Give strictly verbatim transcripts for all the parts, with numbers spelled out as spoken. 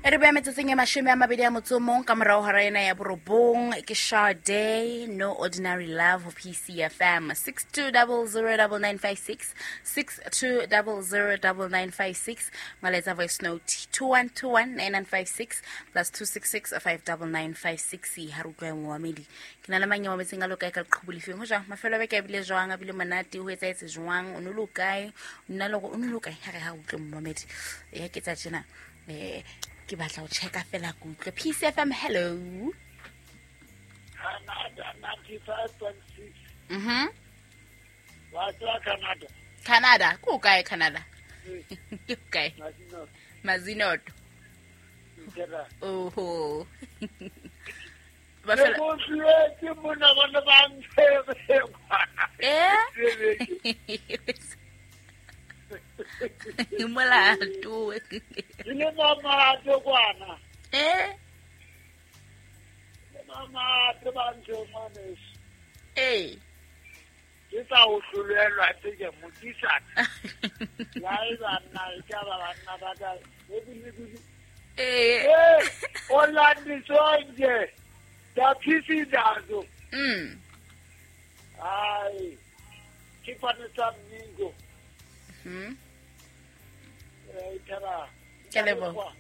E re beya metsotsong e mashome a mabedi a motso o mong ka morao hora ena ya borobong. Ke Sade, No Ordinary Love ho P C F M. six two zero zero nine nine five six, six two zero zero nine nine five six. Molaetsa voice note two one two one nine nine five six, plus two six six five nine nine five six. Ha re utlwa momamedi. Ke na le mang ya mametseng a lo kae ka leqhubu lefeng ho jwang? Mafelo a beke a bile jwang? A bile monate? Ho etsahetse jwang? O no le kae? Nna le hore o no le kae? Ha re ha utlwe momamedi. Ya ke tsa tjena. Eh ke batla ho checka fela ke utlwe. P C F M, hello. Canada ninety-five point six. Mhm. Wa tswa Canada. Canada, ko kae Canada? Ke kae? Mazino. Mazinoto. Nkera. Oho. Ba Ke fela go tletse mona bona ba ntshebe. Eh? Molato. Ke le mamato kwana. Eh? Le mamato ba ntse ngwaneso. Eh. Ke sa o hlolelwa tse ke motisana. La e banna e ka ba banna ba ka. E bile bile. Eh. Eh, olandiswa nje. Daphisi dazo. Mm. Hayi. Ke sa mmingo. Mhm. Eh, ithaba. Ke a leboha.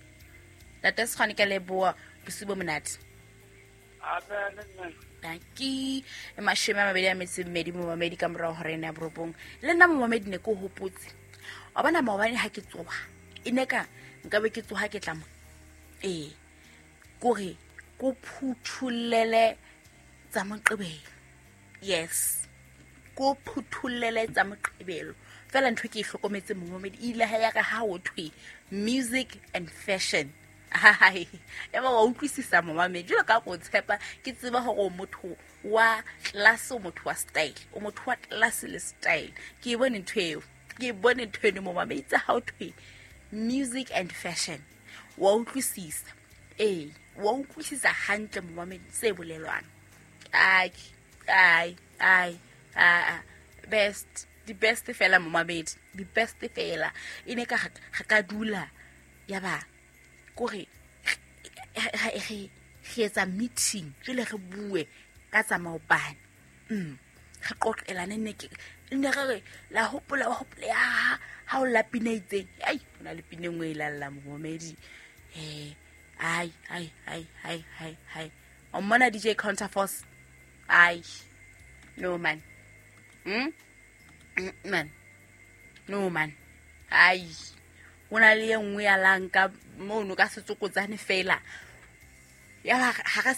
Ntate Sekgwane, ke a leboha. Bosiu bo monate. Amen, mme. Dankie. E mashome a mabedi a metso e mmedi momamedi ka morao hora ena ya borobong. Le nna momamedi ne ke o hopotse. Wa bona maobane ha ke tsoha. E ne ka nkabe ke tsoha ke tla mo. Ee. Kore ko phuthullele tsa Moqebelo. Yes. Ko phuthullele tsa Moqebelo. Fela ntho e ke e hlokometse momamedi e ile ha ya ka ha ho thwe music and fashion. Hai, ya ba wa utlwisisa momamedi. Jwalo ka ko tshepa ke tseba hore o motho wa class, o motho wa style, o motho wa class le style. Ke e bone ntho eo. Ke e bone ntho eno momamedi tsa ha ho thwe music and fashion. Wa utlwisisa. Ee, wa utlwisisa hantle momamedi se bolelwang. Ai, ai, ai, ah, best, the best fela momamedi, the best fela. E ne ka ga ka dula ya ba kore re re etsa meeting jwale re bue ka tsa maobane. Mm. Re qoqelane ne ke ne re re la hopola wa hopola ya ha o la pina e itseng. Ai, ho na le pina e nngwe e lalla momamedi. Eh, ai, ai, ai, ai, ai, ai. O mmona D J Counterforce? Ai. No man. Mm? Mm, man. No man. Ai. Ho na le e nngwe ya lang ka mono ka setsokotsane fela. Ya ba ha re